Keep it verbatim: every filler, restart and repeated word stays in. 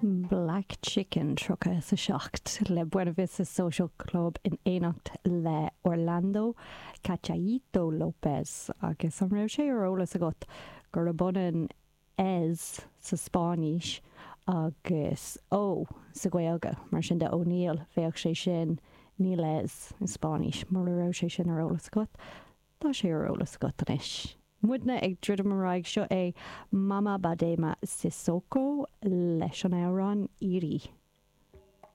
Black Chicken tríocha is a seacht le Buena Vista Social Club in éineacht le Orlando Cachaíto López agus an raibh sé ar eolas agat gurb ionann ez sa Spáinnis agus ó sa Ghaeilge mar sin de O'Neill bheadh sé sin níl ez i Spáinnis mura raibh sé sin ar eolas agat Tá sé ar eolas agat anois. Muidne ag druidim ar aghaidh seo é Mama Badema Sissoko leis an amhrán Iri.